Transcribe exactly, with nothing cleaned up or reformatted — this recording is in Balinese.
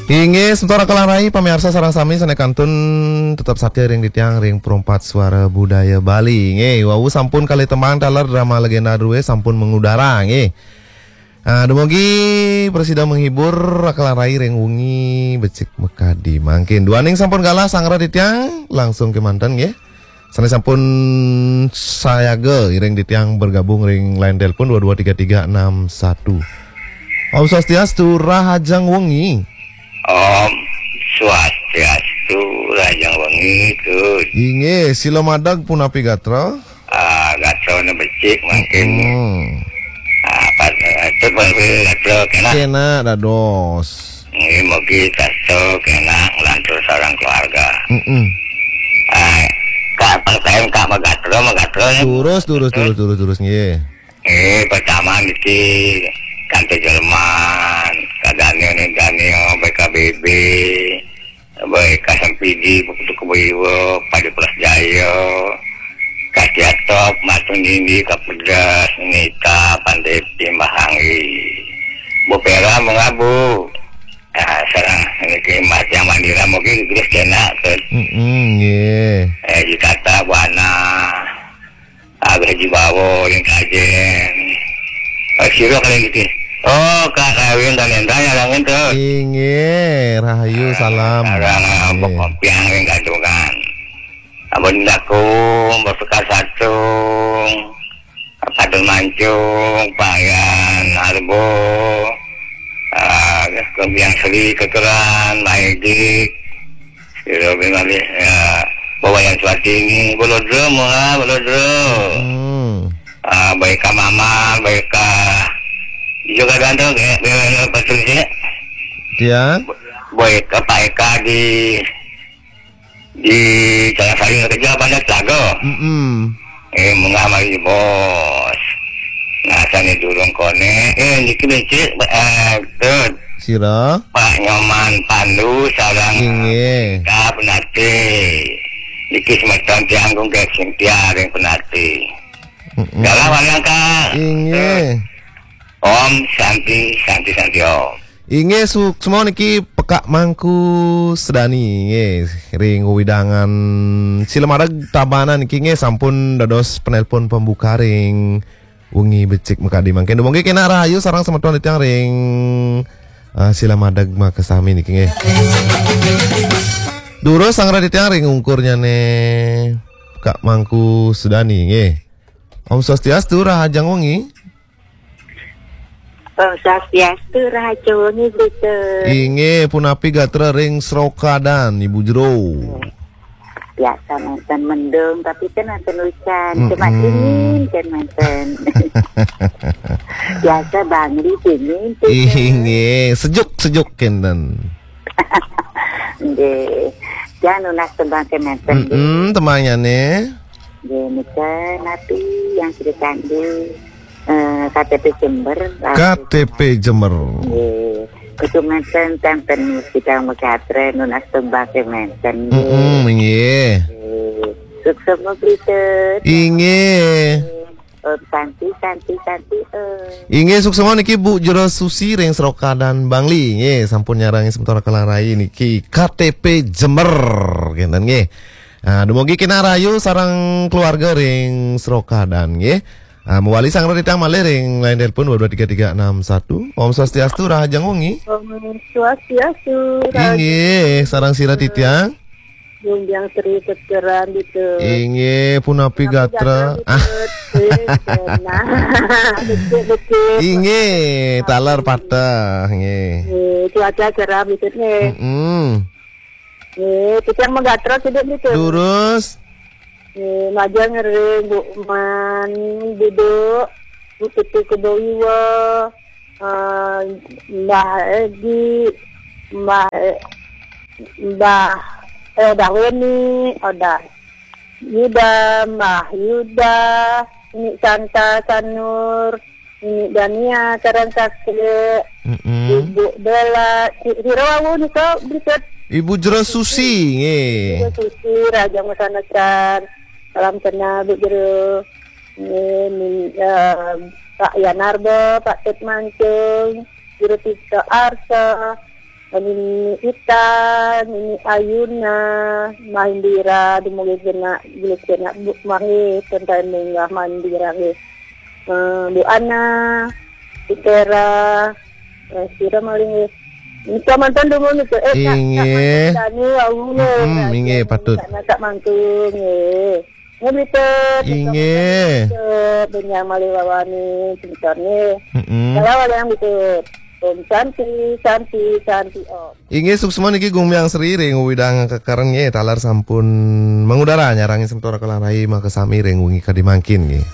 Inggih, semeton Raka lan Rai, pamiarsa sareng sami sané kantun tetep satia ring titiang ring Perempat Suara Budaya Bali. Inggih, wau sampun kalih tembang taler drama legenda drué sampun mengudara, inggih. Ah, dumugi prasida menghibur Raka lan Rai ring wengi becik makadi mangkin. Duaning sampun galah sanggra titiang, langsung kémanten, inggih. Sané sampun sayaga iring titiang bergabung ring line telepon dua dua tiga tiga enam satu. Om Swastiastu, rahajeng wengi. Om Swastiastu, rahajeng wengi, Gus. Inggih, sila madeg punapi gatra? Ah, gatrané becik mangkin. Hmm. Ah, pas, eh, itu baru gatra kénak. Kénak dados. Inggih, mugi saestu kénak nglantur sareng keluarga. Mm-mm. Ah, Kak, pas saya Kak Magatra, Magatra ya. Terus, terus, terus, terus, terus, nggih. Eh, pertama niki kanti Jerman, Kak Daniel nih, Daniel, B K B B, baik, Kak Sampidi, Putu Keboiwa, Padi Plus Jaya, Kak Tiatop, Matung Dindi, Kak Pedas, Nita, Pandepi, Mbah Anggi. Bu Pera, mengabu. Ah, sareng niki Mas yang Mandira mungkin terus kena ke. Mm-mm, nggih. Eh, Jitata, Buana. Agak Jibawa, yang kajen. Eh, sira kali niki. Oh, Kak Kawin dan Endang yang langit tuh. Inggih, rahayu, salam. Sareng, ah, Mbok Kopiang yang gantungan. Abon Daku, Mbok Sekar Satung. Padun Mancung, Payan, Arbo, ah, Kembiang Sri, Kekeran, Maidik, Siro Bingali, ya, Bawayan Swatini, Bolodro, Mola, Bolodro. Hmm. Ah, baik ka Mama, baik ka juga ganteng, ya, ya, ya, betul sih. Ya. Baik ka Pak Eka di, di Tanah Sari kerja banyak telaga. Mm-mm. Eh, munggah mari, Bos. Nah, sane durung konek. Eh, niki becik, eh, tut. Sira? Pak Nyoman Pandu, sareng. Inggih. Ka Penate. Niki semeton tiang kung Kek Sintia ring Penate. Mm-mm. Galah warang, Kak. Inggih. Om Santi, Santi, Santi, Om. Inggih, suksma niki Pekak Mangku Sedani, nggih, ring wewidangan Silamareg Tabanan niki, nggih, sampun dados penelpon pembuka ring wengi becik makadi mangkin. Dumugi kenak rahayu sareng semeton titiang ring, eh, Silamadeg makasami niki, nggih. Durus sanggra titiang ring ungkurnyane Pekak Mangku Sedani, nggih. Om Swastiastu, rahajeng wengi. Om Swastiastu, rahajeng wengi, Bli Tut. Inggih, punapi gatra ring Srokadan, Ibu Jero? Biasa manten mendung, tapi kan manten ujan. Mm-mm. Cuma dingin kan manten. Biasa Bangli dingin tuh. Inggih, sejuk-sejuk kenten. Nggih. Jangan nunas tembang ke manten. Mm-mm, tembangnya nih. Nggih, nika napi yang cerita di, eh, K T P Jember, K T P Jember. Nggih. Kudu manten tanten kita megatre nunas tembang ke manten. Mm-mm, nggih. Nggih. Sukses, Bli Tut. Inggih. Oh, Santi, Santi, Santi, eh. Inggih, suksma niki Bu Jero Susi ring Srokadan Bangli. Nggih, sampun nyarengin semeton Raka lan Rai niki K T P Jember, kenten nggih. Ah, dumugi kenak rahayu sareng keluarga ring Srokadan nggih. Ah, mawali sanggra titiang malih ring line telepon dua dua tiga tiga enam satu. Om Swastiastu, rahajeng wengi. Om Swastiastu, rahajeng. Inggih, sareng sira titiang? Gunjang Sri Kekeran gitu. Inggih, punapi gatra? Punapi gatra gitu. Ah. Eh, kena. Becik-becik. Inggih, taler pateh, nggih. Eh, cuaca cerah gitu nih. Mm-mm. Eh, titiang magatra sida gitu. Durus. Eh, majeng ring Bu Man Budo, Bu Tutu Keboiwa, eh, Mbah Edi, Mbah, eh, Mbah, eh, Mbah Weni, Odah Yuda, Mbah Yuda, Umi Santa Sanur, Umi Dania, sareng sastra, mm-mm, Ibu Bella, si-, sira wau nika, Bli Tut. Ibu Jero Susi, nggih. Ibu Susi, rahajeng masandesan. Salam kenal, Bu Jero. Nggih, min-, eh, Pak Yanarba, Pak Tut Mancung, Jero Tito Arsa, Nini Ita, Nini Ayuna, Mahindira, dumugi kena, dumugi kena, Bu, mangga, tentang munggah Mahindira, nggih. Eh, Bu Ana, Bu Tera, eh, sira malih, nggih. Nika mantan dumun nika, eh, tak, tak Inggih. Mantan Dani, wau, Mm-mm, nggih, inggih, tak patut. Tak, tak mantu, nggih. Nggih, Bli Tut, nika Inggih. Mantan Bli Tut, benyang malih wawani, semeton, nggih. Mm-mm. Kalau ada yang Bli Tut. Om Santi, Santi, Santi, Om. Inggih, suksma niki Gumiang Sri ring uwidang kekeren nggih, taler sampun mengudara nyarengin semeton Kala Rai makasami ring wengi kadi mangkin nggih.